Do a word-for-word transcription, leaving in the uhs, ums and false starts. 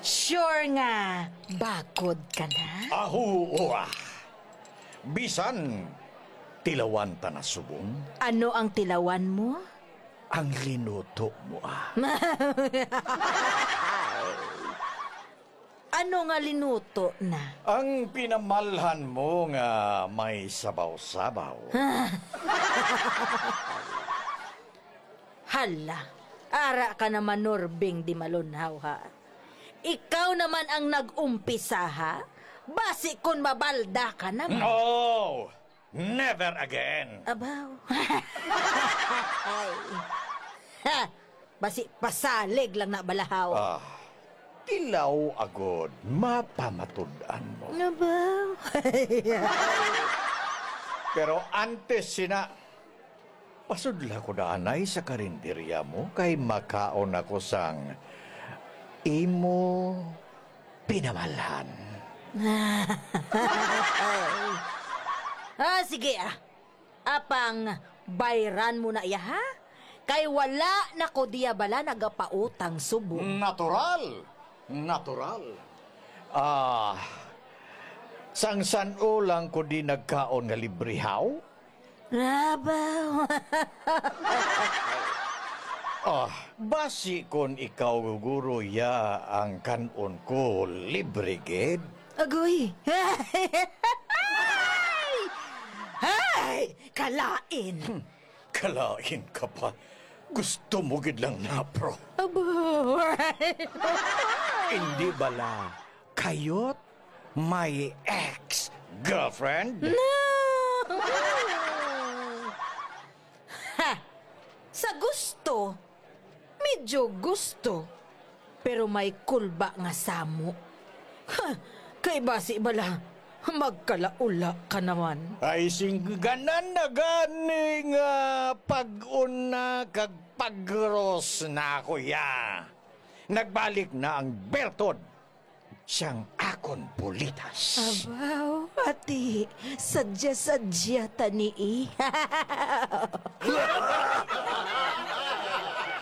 Sure nga bakod ka na? Aho, ah. Bisan tilawan ta na subong. Ano ang tilawan mo? Ang linuto mo, ah. Ano nga linuto na? Ang pinamalhan mo nga may sabaw-sabaw. Hala, ara ka naman, Norbing Dimalunhaw, ha? Ikaw naman ang nag-umpisa, ha? Basi kon mabalda ka naman. No! Never again! Abaw. Ay. Ha! Basi pasalig lang na balahaw. Ah, tilaw agod, mapamatud-an mo. Abaw. Pero antes sina, pasudla ko na anay sa karinderya mo kay makaon ako sang imo pinamalhan. Ah, sige, ah. Apang bayran mo na iya, ha? Kay wala na ko diya bala nagapautang subong. Natural! Natural! Ah, sang san-o lang ko di nagkaon nga libre, haw? Abaw. Ah, basi kon ikaw guro ya ang kan-on ko, libre gid? Agoy. Ay! Ay! Kalain. Hmm, kalain ka pa. Gusto mo gid lang na, bro. Abaw. Hindi bala kayot my ex-girlfriend? No! Ha! Sa gusto, medyo gusto, pero may kulba nga samo. Ha! Kay basi bala, magkalaula ka naman. Ay, singganan na gani nga pag-una kag pagros na ako ya. Nagbalik na ang bertod sang akon bulitas. Abaw, ati, sadya-sadya ta ni, eh.